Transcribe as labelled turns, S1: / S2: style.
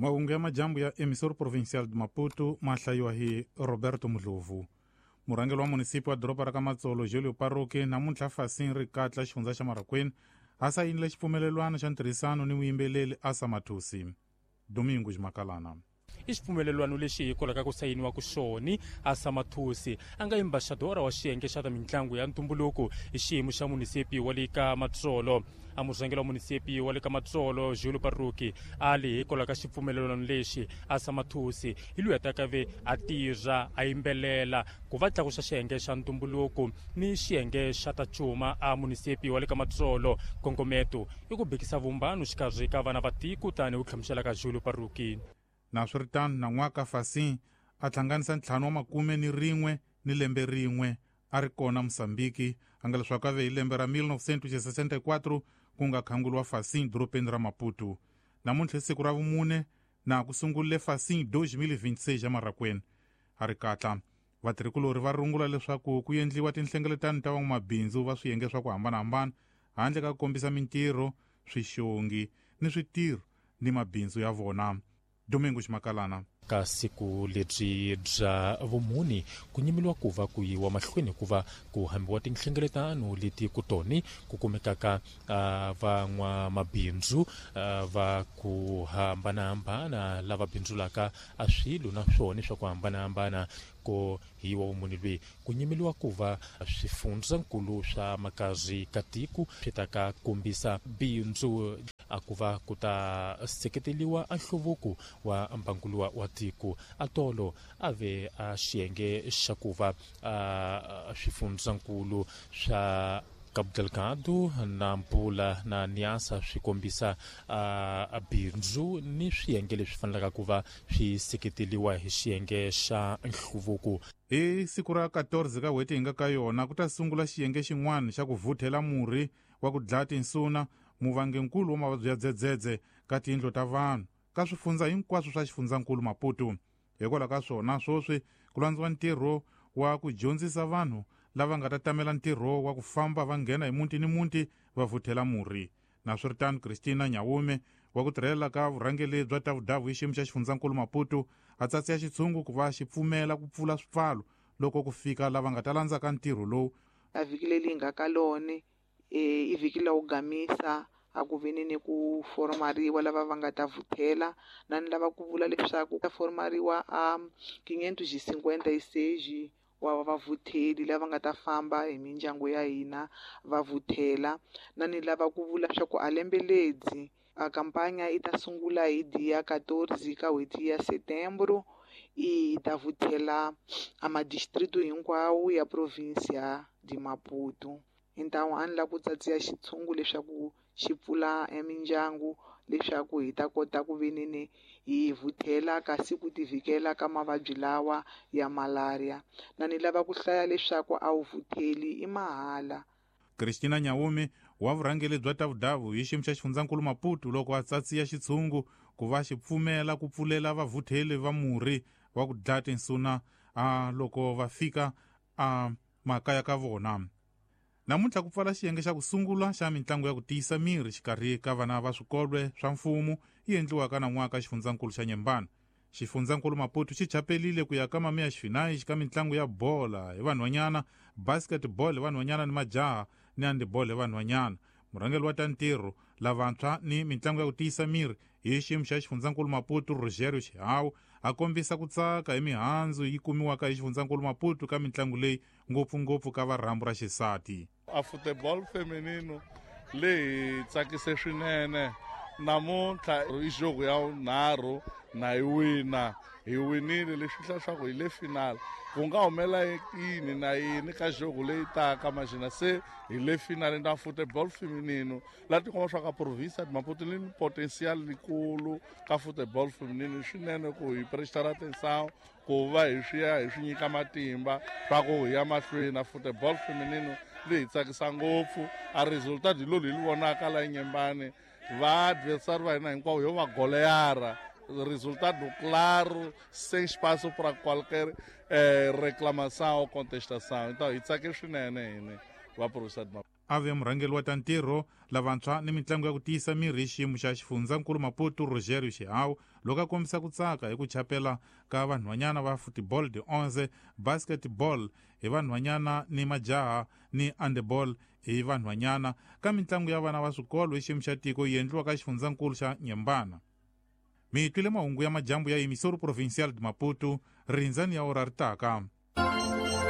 S1: Mahungu ya majambu ya Emissor Provincial de Maputo ma hlayiwa hi Roberto Mudlovu. Murhangeri wa munisipi wa doroba ra ka Matsolo Julio Paroki namuntlha Fasin Rikatla xifundza xa Marraquene a sayinile xipfumelelwano xa ntirhisano ni muyimbeleri Asa Mathusi. Domingo Makalana.
S2: I xipfumelelwano lexi hikwalaho ka ku sayiniwa ku xoni Asa Mathusi a nga embaxadora wa xiyenge xa ta mitlangu ya ntumbuluko hi xiyimo xa munisipi wa le ka Matsolo. A murhangeri wa munisipi wa le ka Matsolo Julio Paroki a li hikwalaho ka xipfumelelwano lexi Asa Mathusi hi loyi a ta ka ve a tirha a yimbelela ku va tlakusa xiyenge xa ntumbuluko ni xiyenge xa ta cuma a munisipi wa le ka Matsolo. Nkongometo i ku bikisa vumbano xikarhi ka vana va tiko tani ku hlamusela ka Julio Paroki.
S1: Naswiritano nan'waka Fasin a hlanganisa 51 ni lembe rin'we a ri kona Mosambiki a nga leswaku a ve hi lembe ra 1964 ku nga khanguriwa Fasin dorobeni ra Maputo. Namuntlha i siku ra vumune na ku sungurile Fasin 2026 ya Marraquene. A ri katla vatirhikulori va rungula leswaku ku endliwa tinhlengeletano ta van'wamabindzu va swiyenge swa ku hambanahambana handle ka ku kombisa mintirho, swixongi ni switirho ni mabindzu ya vona. Domingo Ximakalana.
S2: Ka siku lebyi bya vumuni ku nyimeliwa ku va ku yiwa mahlweni ku va ku hambiwa tinhlengeletano leti ku toni ku kumekaka van'wamabindzu va ku hambanahambana lava bindzulaka a swilo na swona swa ku hambanahambana. Ko hi wa vumuni lweyi ku nyimeliwa ku va swifundzankulu swa makazi ka tiko swi ta ka kombisa bindzu a ku va ku ta seketeliwa a nhluvuko wa mbangulo wa tiko. A tolo a ve a xiyenge xa ku va a swifundzankulu swa Cabo Delgado na Nampula na Niassa swi kombisa a bindzu ni swiyenge leswi fanelaka ku va swi seketeliwa hi xiyenge xa nhluvuko.
S1: Hi siku ra 14 ka n'hweti hi nga ka yona ku ta sungula xiyenge xin'wana xa ku vuthela murhi wa ku dlaya tinsuna, muvangenkulu wa mavabyi ya dzedzedze ka tiyindlu ta vanhu ka swifundza hinkwaswo swa xifundzankulu Maputo. Hikwalaho ka swona swoswi ku landziwa ntirho wa ku dyondzisa vanhu lava nga ta tamela ntirho wa ku famba va nghena hi muti ni muti va vuthela murhi. Naswiritano Christina Nyawume wa ku tirhela ka vurhangeri bya Tavudavu hi xiyimo xa xifundzankulu Maputo a tsatsiya xitshungu ku va xi pfumela ku pfula swipfalo loko ku fika lava nga ta landzaka ntirho lowu.
S3: A vhiki leri hi nga ka lona i vhiki la ku gamisa a ku veni ni ku formariwa lava va nga ta vuthela na ni lava ku vula leswaku ta formariwa a 556 wa vavutheli lava nga ta famba hi mindyangu ya hina va vuthela. Na ni lava ku vula swa ku a lembe ledzi a kampanya yi ta sungula hi dia 14 ka n'hweti ya Setembro i ta vuthela a madistritu hinkwawo ya provinsia de Maputo. Hintawu a ni lava ku tsatsiya xitshungu leswaku xi pfula emindyangu leswaku hi ta kota ku veneni hi vuthela kasi ku tivikela ka mavabyi lawa ya malaria. Na ni lava ku hlaya leswaku a wu vutheli i mahala.
S1: Christina Nyawume wa vurhangeri bya Tavudavu hi xiyimo xa xifundzankulu Maputo loko a tsatsiya xitshungu ku va xi pfumela ku pfulela vavutheli va murhi wa ku dlaya tinsuna a loko va fika a makaya ka vona. Namuntlha ku pfala xiyenge xa ku sungula xa mitlangu ya ku tiyisa miri xikarhi ka vana va swikolwe swa mfumo yi endliwaka nan'waka xifundzankulu xa Nyembana. Xifundzankulu Maputo xi chapelile ku ya ka mamiya xifinayi ka mitlangu ya bola hi vanhwanyana, basketball hi vanhwanyana ni majaha ni handball hi vanhwanyana. Murhangeri wa ta ntirho lavantshwa ni mitlangu ya ku tiyisa miri hi xiyimo xa xifundzankulu Maputo Rogerio Xihawu a kombisa ku tsaka hi mihandzu yi kumiwaka hi xifundzankulu Maputo ka mitlangu leyi ngopfungopfu ka varhambu ra xisati.
S4: A futebol feminino leyi tsakise swinene namuntlha i jogo ya vunharhu na yi wina hi winile leswi hla swa ku hi le final ku nga humela yini na yini ka jogo leyi taka maxina se hi le final na futebol feminino la tikomba swa ka province de Maputo ni potential likulu ka futebol feminino swinene ku hi prestar atenção ku va hi swi ya hi swi nyika matimba swa ku hi ya mahlweni na futebol feminino leyi tsakisa ngopfu a resultat hi lolu hi li vonaka la Nyembane va adversary va hina hinkwavo yo va goleyara resultado claro sem espaço para qualquer reclamação ou contestação. Então hi tsake swinene hini va province de Maputo.
S1: A ve murhangeri wa ta ntirho, lavantshwa ni mitlangu ya ku tiyisa mirhi hi xiyimo xa xifundzankulu Maputo, Rogerio Xihawu, loko a kombisa ku tsaka hi ku chapela ka vanhwanyana va football de 11, basketball hi vanhwanyana ni majaha ni handball hi vanhwanyana ka mitlangu ya vana va swikolo hi xiyimo xa tiko yi endliwa ka xifundzankulu xa Nyembana. Mi twile mahungu ya majambu ya Emissora Provincial de Maputo, rindzani ya ora ri taka.